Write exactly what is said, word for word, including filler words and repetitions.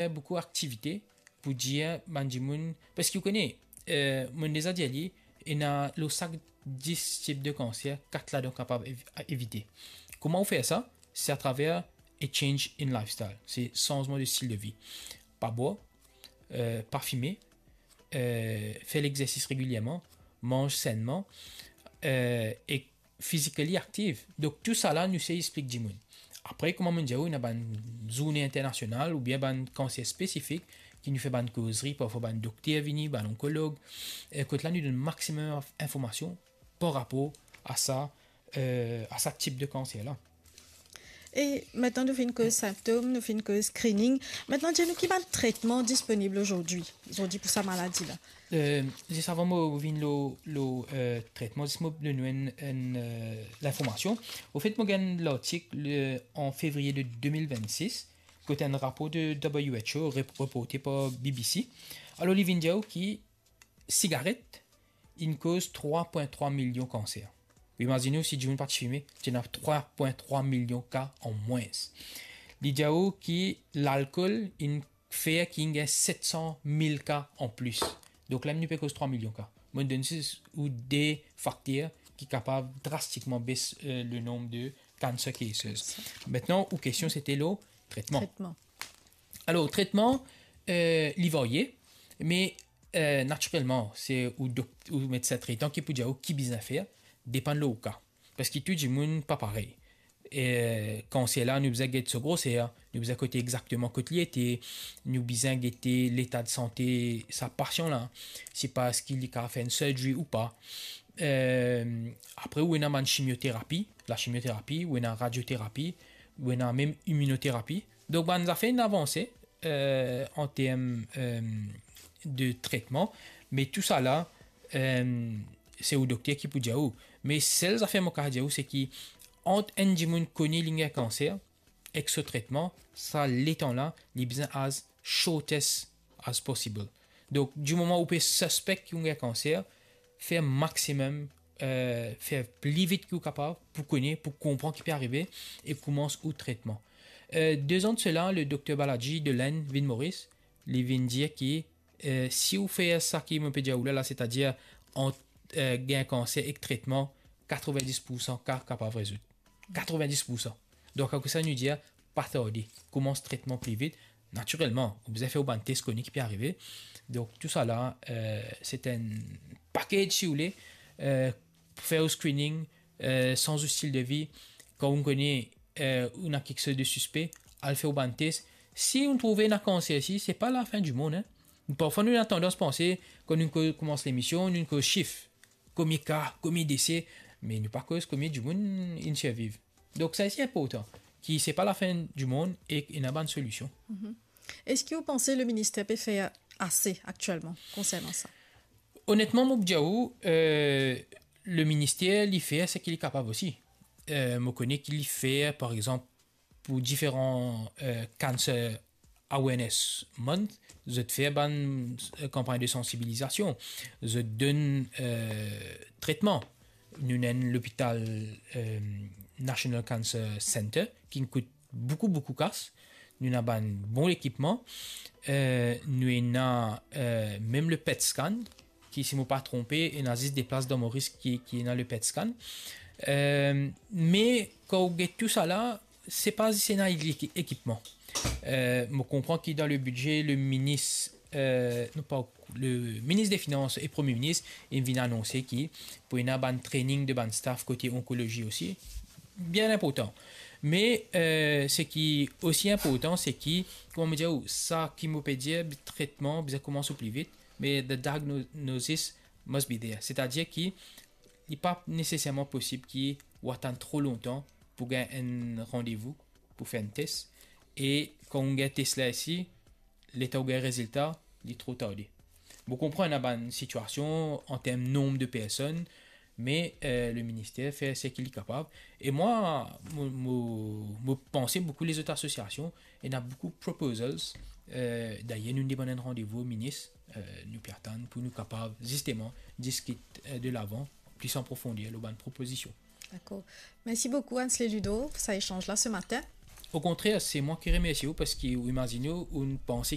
fer boukou aktivite pou dir bann dimoun, parski ou kone, eh, mo deza dir li, ena lor sak dis tip de kanser, kat ladan kapav ev-, evite. Kouma ou fer sa? Se atraver a change in lifestyle. Se sanzman de stil de vi. Pa bwar, eh, pa fime, eh, fer legzersis regilierman, manz sennman, eh, e physically active. Donk, tou sa la, nou sey explik dimoun. Apre, kouma mo dir ou, ena bann zourne internasional oubien bann kanser spesifik ki nou fer bann kozri, parfwa bann dokter vini, bann onkolog. Eh, kot la, nou donn maximum inf-, informasion par rapor a sa, eh, a sa tip de kanser la. E mintnan nou finn koz sintom, nou finn koz screening. Mintnan, dir nou ki bann tretman disponib azordi, azordi pou sa maladi la? Eh, zis avan mo vinn lor, lor, eh, tretman, zis mo donn ou enn, enn, eh, linformasion. Anfet, mo gagn lartik, le, an fevriye de de mil vennsis, kot enn rapor de W H O rep-, reporte par B B C. Alor, li vinn dir ou ki sigaret inn koz trwa pwin trwa milion kanser. Ou imazine ou, si dimoun pa ti fime, ti ena trwa pwin trwa milion ka an mwins. Li dir ou ki lalkol inn fer ki inn gagn set san mil ka an plis. Donk, la nou pe koz trwa milion ka. Mo donn zis ou de fakter ki kapav drastikman bes, eh, le nonb de cancer cases. Mintnan, ou kestion, sete lor tretman. Tretman. Alor, tretman, eh, li varye, me, eh, natirelman, se ou dok-, ou medsin tretan ki pou dir ou ki bizin fer, depann lor ou ka. Parski tou dimoun pa parey. Eh, kanser la, nou bizin get so groser, nou bizin kote exakteman kot li ete, nou bizin gete leta de sante sa pasian la, si pa eski li kapav fer enn surgery ou pa. Eh, apre, ou ena bann chimioterapi, la chimioterapi, ou ena radioterapi, ou ena mem iminoterapi. Donk, bann zafer inn avanse, eh, an term, eh, de tretman, me tou sa la, eh, se ou dokter ki pou dir ou. Me sel zafer mo kapav dir ou, se ki ant enn dimoun kone li gagn kanser ek so tretman, sa letan la, li bizin as shortest as possible. Donk, di moman ou pe sispek ki ou gagn kanser, fer maximum, eh, fer pli vit ki ou kapav pou kone, pou konpran ki pe arive e koumans ou tretman. Eh, dezan de sela, le dokter Balaji de Lenn vinn Moris, li vinn dir ki, eh, si ou fer sa ki mo pe dir ou la, la, setadir ant, eh, gagn kanser ek tretman, katrovin-dis poursan ka kapav rezoud. Katrovin-dis poursan. Donk, akoz sa nou dir, pa tarde, koumans tretman pli vit. Natirelman, ou bizin fer ou bann tes, kone ki pe arive. Donk, tou sa la, eh, se enn package, si ou le, eh, fer ou screening, eh, sanz ou stil de vi. Kan ou kone, eh, ou ena kiksoz de sispe, al fer ou bann tes. Si ou trouve ena kanser, si, se pa lafin dimonn, hein. Parfwa, nou ena tandans panse, kan nou ko-, koumans lemision, nou koz sif. Komie ka, komie dese, me nou pa koz komie dimoun inn sirviv. Donk, sa se inportan, ki se pa lafin dimonn e ena bann solision. Mhm. Eski ou panse le minister pe fer ase aktielman konsernan sa? Onetman, mo pou dir ou, eh, le minister, li fer seki li kapav osi. Eh, mo kone ki li fer, par exanp, pou diferan, eh, Cancer Awareness Month, zot fer bann, eh, kanpagn de sansibilizasion, zot donn, eh, tretman. Nou ena enn lopital, eh, National Cancer Center ki kout boukou, boukou kas. Nou ena bann bon lekipman. Eh, nou ena, eh, mem le PET scan, ki, si mo pa tronpe, ena zis de plas dan Moris ki, ki ena le PET scan. Eh, me kan ou get tou sa la, se pa zis ena eki-, ekipman. Eh, mo konpran ki dan le bidze, le minis, eh, non pa, le minis de finans e premie minis, inn vinn anonse ki pou ena bann training de bann staff kote onkolozi osi. Bien inportan. Me, eh, seki osi inportan, se ki, kouma mo dir ou, sa ki mo pe dir, tretman bizin koumans ou pli vit, me the diagnosis must be there. Setadir ki li pa neseserman posib ki ou atann tro lontan pou gagn enn randevou pou fer enn tes. E kan ou gagn tes la isi, letan ou gagn rezilta, li tro tarde. Mo konpran ena bann sitiasion an term nonb de personn, me, eh, le minister fer seki li kapav. E mwa, mo, mo, mo panse boukou lezot asosiasion, ena boukou proposals. Eh, dayer, nou demann enn randevou minis, eh, nou pe atann pou nou kapav zisteman diskit, eh, de lavan, plis an profonder lor bann propozision. Dakor. Mersi boukou, Ansley Ludo, pou sa esanz la se matin. Okontrer, se mwa ki remersie ou, parski ou imazine ou, ou panse